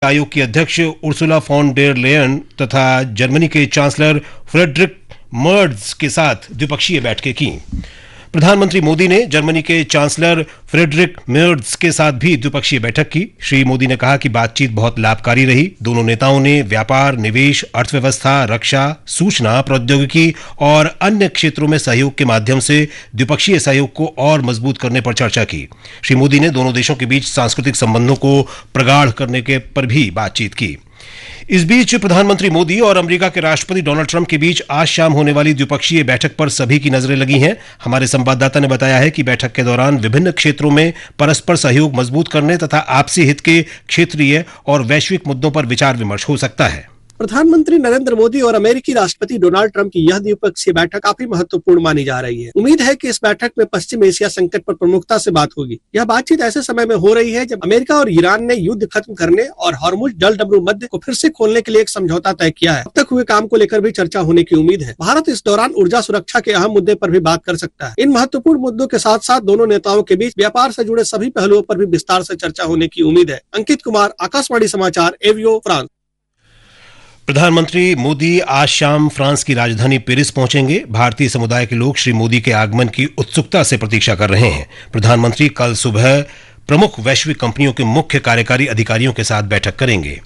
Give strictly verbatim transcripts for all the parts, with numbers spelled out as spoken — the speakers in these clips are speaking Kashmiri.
आयोग की अध्यक्ष उर्सुला फॉन डेर लेयन तथा जर्मनी के चांसलर फ्रेडरिक मर्ज के साथ द्विपक्षीय बैठकें की। प्रधानमंत्री मोदी ने जर्मनी के चांसलर फ्रेडरिक मर्ज के साथ भी द्विपक्षीय बैठक की। श्री मोदी ने कहा कि बातचीत बहुत लाभकारी रही। दोनों नेताओं ने व्यापार, निवेश, अर्थव्यवस्था, रक्षा, सूचना प्रौद्योगिकी और अन्य क्षेत्रों में सहयोग के माध्यम से द्विपक्षीय सहयोग को और मजबूत करने पर चर्चा की। श्री मोदी ने दोनों देशों के बीच सांस्कृतिक संबंधों को प्रगाढ़ करने के पर भी बातचीत की। इस बीच प्रधानमंत्री मोदी और अमेरिका के राष्ट्रपति डोनाल्ड ट्रंप के बीच आज शाम होने वाली द्विपक्षीय बैठक पर सभी की नजरें लगी हैं। हमारे संवाददाता ने बताया है कि बैठक के दौरान विभिन्न क्षेत्रों में परस्पर सहयोग मजबूत करने तथा आपसी हित के क्षेत्रीय और वैश्विक मुद्दों पर विचार विमर्श हो सकता है। प्रधानमंत्री नरेंद्र मोदी और अमेरिकी राष्ट्रपति डोनाल्ड ट्रंप की यह द्विपक्षीय बैठक काफी महत्वपूर्ण मानी जा रही है। उम्मीद है कि इस बैठक में पश्चिम एशिया संकट पर प्रमुखता से बात होगी। यह बातचीत ऐसे समय में हो रही है, जब अमेरिका और ईरान ने युद्ध खत्म करने और हॉर्मुज जलडमरूमध्य को फिर से खोलने के लिए एक समझौता तय किया है। अब तक हुए काम को लेकर भी चर्चा होने की उम्मीद है। भारत इस दौरान ऊर्जा सुरक्षा के अहम मुद्दे पर भी बात कर सकता है। इन महत्वपूर्ण मुद्दों के साथ साथ दोनों नेताओं के बीच व्यापार से जुड़े सभी पहलुओं पर भी विस्तार से चर्चा होने की उम्मीद है। अंकित कुमार, आकाशवाणी समाचार, एवियो, फ्रांस। प्रधानमंत्री मोदी आज शाम फ्रांस की राजधानी पेरिस पहुंचेंगे। भारतीय समुदाय के लोग श्री मोदी के आगमन की उत्सुकता से प्रतीक्षा कर रहे हैं। प्रधानमंत्री कल सुबह प्रमुख वैश्विक कंपनियों के मुख्य कार्यकारी अधिकारियों के साथ बैठक करेंगे।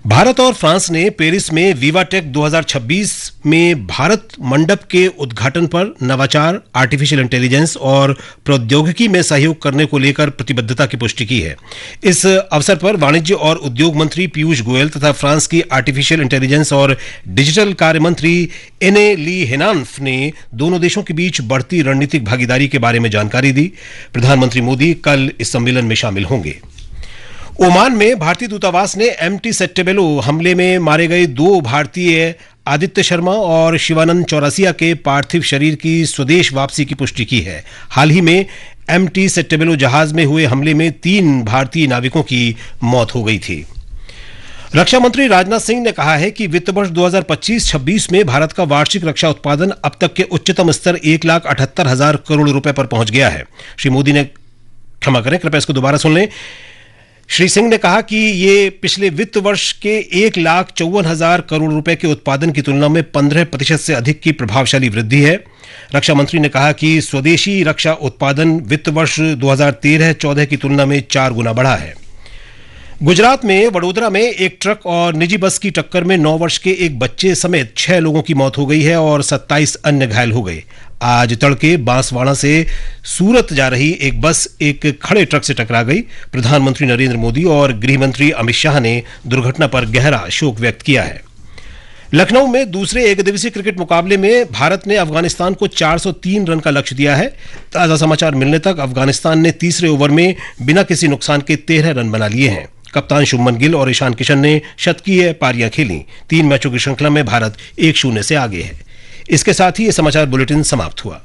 भारत और फ्रांस ने पेरिस में विवाटेक दो हज़ार छब्बीस में भारत मंडप के उद्घाटन पर नवाचार, आर्टिफिशियल इंटेलिजेंस और प्रौद्योगिकी में सहयोग करने को लेकर प्रतिबद्धता की पुष्टि की है। इस अवसर पर वाणिज्य और उद्योग मंत्री पीयूष गोयल तथा फ्रांस की आर्टिफिशियल इंटेलिजेंस और डिजिटल कार्य मंत्री एने ली हेनान्फ ने दोनों देशों के बीच बढ़ती रणनीतिक भागीदारी के बारे में जानकारी दी। प्रधानमंत्री मोदी कल इस सम्मेलन में शामिल होंगे। ओमान में भारतीय दूतावास ने एमटी सेट्टेबेलो हमले में मारे गए दो भारतीय, आदित्य शर्मा और शिवानंद चौरसिया, के पार्थिव शरीर की स्वदेश वापसी की पुष्टि की है। हाल ही में एमटी सेट्टेबेलो जहाज में हुए हमले में तीन भारतीय नाविकों की मौत हो गई थी। रक्षा मंत्री राजनाथ सिंह ने कहा है कि वित्त वर्ष दो हज़ार पच्चीस छब्बीस में भारत का वार्षिक रक्षा उत्पादन अब तक के उच्चतम स्तर एक लाख अठहत्तर हजार करोड़ रुपए पर पहुंच गया है। श्री मोदी ने, क्षमा करें, कृपया इसको दोबारा सुन लें। श्री सिंह ने कहा कि ये पिछले वित्त वर्ष के एक लाख चौवन हजार करोड़ रुपए के उत्पादन की तुलना में पन्द्रह प्रतिशत से अधिक की प्रभावशाली वृद्धि है। रक्षा मंत्री ने कहा कि स्वदेशी रक्षा उत्पादन वित्त वर्ष दो हज़ार तेरह चौदह की तुलना में चार गुना बढ़ा है। गुजरात में वडोदरा में एक ट्रक और निजी बस की टक्कर में नौ वर्ष के एक बच्चे समेत छह लोगों की मौत हो गई है और सत्ताईस अन्य घायल हो गए। आज तड़के बांसवाड़ा से सूरत जा रही एक बस एक खड़े ट्रक से टकरा गई। प्रधानमंत्री नरेंद्र मोदी और गृह मंत्री अमित शाह ने दुर्घटना पर गहरा शोक व्यक्त किया है। लखनऊ में दूसरे एक दिवसीय क्रिकेट मुकाबले में भारत ने अफगानिस्तान को चार सौ तीन रन का लक्ष्य दिया है। ताज़ा समाचार मिलने तक अफगानिस्तान ने तीसरे ओवर में बिना किसी नुकसान के तेरह रन बना लिए हैं। कप्तान शुभमन गिल और ईशान किशन ने शतकीय पारियां खेली। तीन मैचों की श्रृंखला में भारत एक शून्य से आगे है। इसके साथ ही ये समाचार बुलेटिन समाप्त हुआ।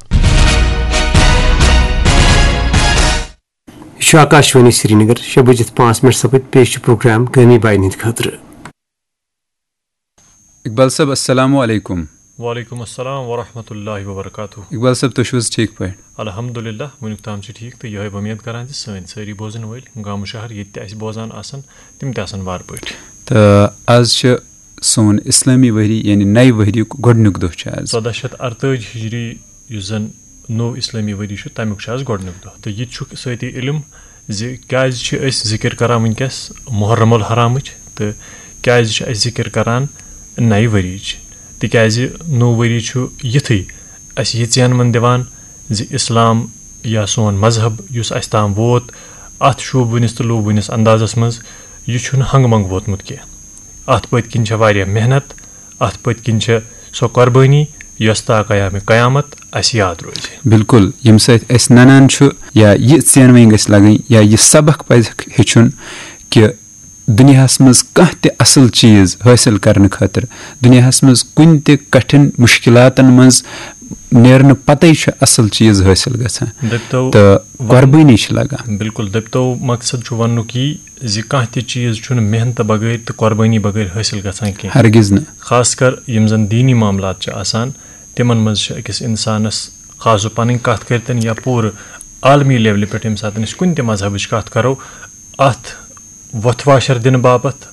یہ چھُ آکاشوانی سرینگر۔ شےٚ بٔجِتھ پانٛژھ منٹ سپٕدۍ۔ پیش چھُ پروگرام گٲمی باین ہٕنٛدِ خٲطرٕ۔ اقبال صٲب، السلام علیکم۔ وعلیکم السلام ورحمۃ اللہ وبرکاتہ۔ اقبال صٲب، تُہۍ چھِو حظ ٹھیٖک پٲٹھۍ؟ الحمدللہ، وٕنیُک تام چھِ ٹھیٖک، تہٕ یِہوٚے وۄمید کران زِ سٲنۍ سٲری بوزن وٲلۍ گامہٕ شہر ییٚتہِ تہِ اَسہِ بوزان آسن، تِم تہِ آسن وارٕ پٲٹھۍ۔ تہٕ آز چھِ سون اسلٲمی ؤری، یعنی نَیہِ ؤریُک گۄڈٕنیُک دۄہ چھُ آز۔ ژۄداہ شیٚتھ اَرتٲجۍ ہِجری، یُس زَن نوٚو اسلٲمی ؤری چھُ، تَمیُک چھُ آز گۄڈٕنیُک دۄہ۔ تہٕ یہِ تہِ چھُ سۭتی علم زِ کیٛازِ چھِ أسۍ ذِکِر کران وٕنکیٚس محرم الحرامٕچ، تہٕ کیٛازِ چھِ أسۍ ذِکِر کران نَیہِ ؤریِچ؟ تِکیٛازِ نوٚو ؤری چھُ یِتھُے اَسہِ یہِ ژینوَن دِوان زِ اسلام یا سون مذہب یُس اَسہِ تام ووت، اَتھ شوٗبوٕنِس تہٕ لوٗبوٕنِس اندازس منٛز، یہِ چھُنہٕ ہنٛگہٕ منٛگہٕ ووتمُت کینٛہہ۔ اَتھ پٔتۍ کِنۍ چھےٚ واریاہ محنت، اَتھ پٔتۍ کِنۍ چھےٚ سۄ قۄربٲنی یۄس تا قیامِ قیامت اَسہِ یاد روزِ۔ بِلکُل، ییٚمہِ سۭتۍ اَسہِ نَنان چھُ یا یہِ ژینوٕنۍ گژھِ لَگٕنۍ یا یہِ سبق پَزِ ہیٚچھُن کہِ دُنیاہَس منٛز کانٛہہ تہِ اَصٕل چیٖز حٲصِل کرنہٕ خٲطرٕ، دُنیاہَس منٛز کُنہِ تہِ کٹھِن مُشکِلاتَن منٛز نیرنہٕ پَتَے چھُ اَصٕل چیٖز حٲصِل گژھان۔ دٔپتو تہٕ قۄربٲنی چھِ لَگان۔ بِلکُل، دٔپتو مقصد چھُ وَننُک یی زِ کانٛہہ تہِ چیٖز چھُنہٕ محنتہٕ بغٲر تہٕ قۄربٲنی بغٲر حٲصِل گژھان کینٛہہ۔ ہرگز نہٕ۔ خاص کر یِم زَن دیٖنی معاملات چھِ آسان، تِمَن منٛز چھِ أکِس اِنسانَس، خاص پَنٕنۍ کَتھ کٔرِتھ یا پوٗرٕ عالمی لیولہِ پٮ۪ٹھ، ییٚمہِ ساتہٕ أسۍ کُنہِ تہِ مذہبٕچ کَتھ کَرو، اَتھ وۄتھٕ واشر دِنہٕ باپتھ،